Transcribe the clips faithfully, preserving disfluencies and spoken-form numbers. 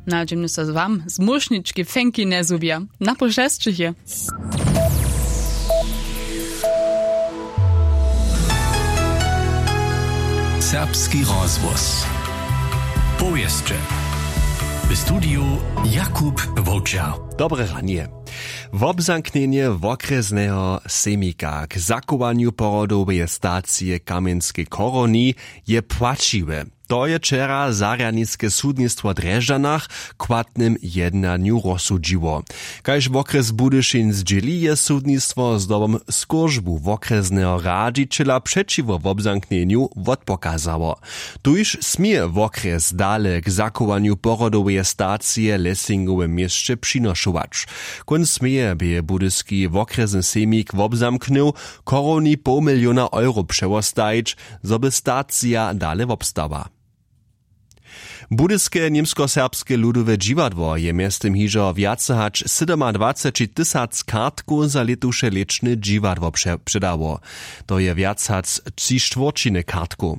Na dźemnje so z wam zmóšnički fenki njezhubja. Na pošesćich je. Serbski rozhłos. Powěsće. W studiju Jakub Wowčer. Dobre ranje. Wobzamknjenje wokrjesneho sejmika k zachowanju porodoweje stacije w kamjenskej chorowni je płaćiwe. To je wčera zarjadniske sudnistwo w drježdźanach w chłatnym jednanju rozsudźiło. Kaž wokrjes budyšin zdźěli, je sudnistwo zdobom skóržbu wokrjesneho radźićela přećiwo wobzamknjenju wotpokazało. Tuž směje wokrjes dale k zachowanju porodoweje stacije w lesingowym měsće přinošować. Kónc meje bě budyski wokrjesny sejmik wobzamknył, chorowni poł miliona euro přewostajić, zo by stacija dale wobstała. Budyske němskoserbske ludowe dźiwadło je mjeztym hižo wjace hač sydomadwaceći tysac kartkow za lětuše lěčne dźiwadło pře- předało. To je wjac hač tři štwórćiny kartkow.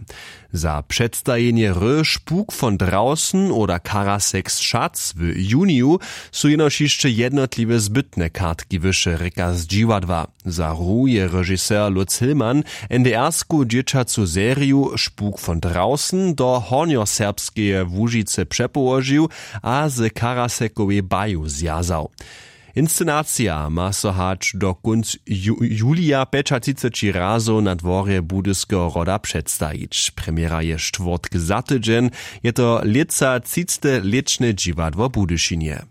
Za předstajenje hry Spuk von Draußen oder Karasek z Schatz w juniju su jenož hišće jednotliwe zbytne kartki wyše, rěka z dźiwadła. Za hru je režiser Lutz Hillmann NDR-sku dźěćacu seriju Spuk von Draußen do Hornjoserbskeje Łužicy přepołožił a z Karasekowej baju zwjazał. Inscenacija ma so hač do kónc ju- julija pjećatřiceći razow na dworje Budyskeho hroda předstajić. Premjera je štwórtk za tydźeń, je to lětsa třicte lěčne dźiwadło w Budyšinje.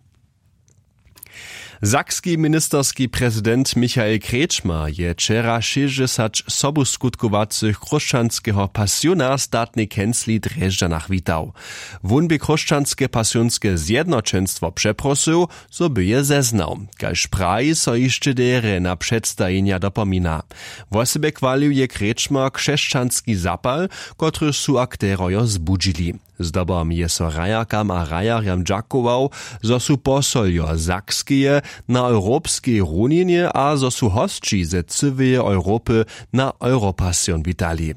Sakski ministerski prezident Michael Kretschmer je wčera šěsćdźesać sobuskutkowacych chróšćanskeho pasiona w statnej kencli w Drježdźanach witał. Wón bě chróšćanske pasionske zjednoćenstwo přeprosył, zo by je zeznał. Kaž praji, so hišće derje na předstajenja dopomina. Wosebje chwalił je Kretschmer křesćanski zapal, kotryž su akterojo zbudźili. Zdobom je so hrajerkam a hrajerjam dźakował, zo su posoljo Sakskeje na europskej runinje a zo su hosći ze cyłeje Europy na Europasion witali.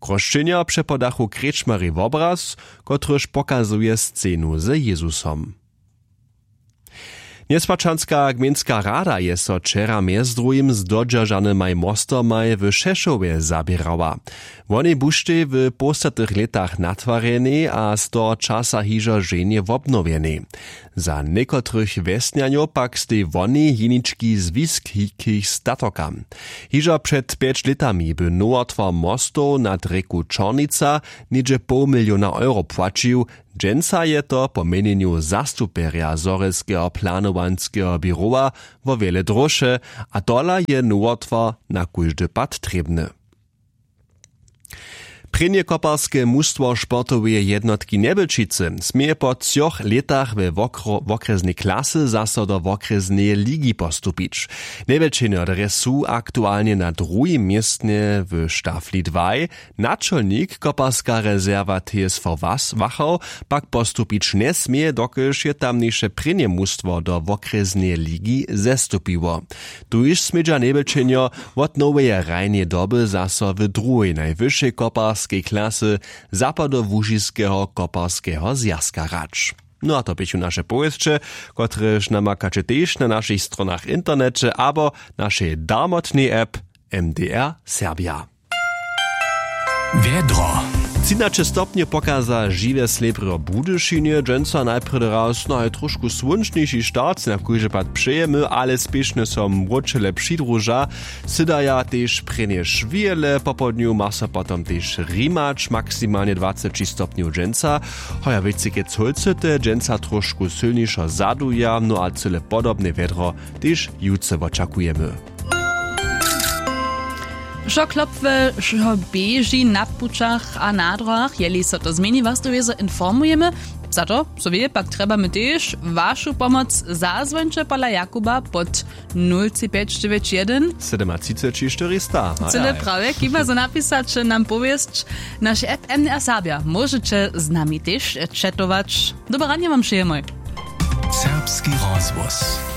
Chróšćenjo přepodachu Kretschmerej wobraz, kotryž pokazuje scenu z Jezusom. Njeswaćanska gmejnska rada je so wčera mjez druhim z dodźeržanymaj mostomaj w Šešowje zaběrała. Wonej buštej w połstatych lětach natwarjenej a z toho časa hižo ženje wobnowjenej. Za někotrych wjesnjanjow pak stej wonej jenički zwiskich statokam. Hižo před pjeć lětami by nowotwar mostow nad rěku Čornica něhdźe poł miliona euro płaćił. Dźensa je to po měnjenju zastupjerja zhorjelskeho planowanskeho běrowa wo wjele dróše, a tola je nowotwar na kóždy pad trěbny. Prěnje koparske mustwo sportoweje jednotki Njebelčicy směje po třoch lětach we wokro- wokrjesnej klasy zaso do wokrjesneje ligi postupić. Njebelčenjo drje su aktualnje na druhim městnje w štafli dwaj. Načolnik koparska rezerwa T S V Was Wachau pak postupić njesměje, dokelž je tamniše prěnje mustwo do wokrjesneje ligi zestupiło. Tuž smědźa Njebelčenjo wot noweje hrajneje doby zaso w druhej najwyšej koparskej klasy Zapadołužiskeho koparskeho zwjazka hrać. No a to běchu naše powěsće, kotrež namakaće tež na našich stronach w interneće abo našej darmotnej app M D R Serbia. Wjedro. Třinaće stopnje pokaza žiwe slěbrjo w Budyšinje, dźensa najprjedy raz naj tróšku słónčniši start na kóždy pad přejemy, ale spěšnje so mróčele přidruža. Sydaja tež prěnje šwěle, popołdnju ma so potom tež rimać, maksimalnje dwaceći stopnjow dźensa. Hoja wěcike colcyte dźensa tróšku sylnišo zaduja, no a cyle podobne wjedro tež jutře wočakujemy. Wšo klopłe, wšo běži na pućach a na dróhach, jeli so to změni, was to wězo informujemy. Za to, zo wě, pak trjebamy tež wašu pomoc. Zazwońće pola Jakuba pod nul tři pjeć dźewjeć jedyn, sydomatřiceći štyrista. Cyle prawje, chěba zo napisać, nam powěsć. Naše app M D R Serbja móžeće z nami tež četować. Dobre ranje wam přejemy. Serbski rozhłos.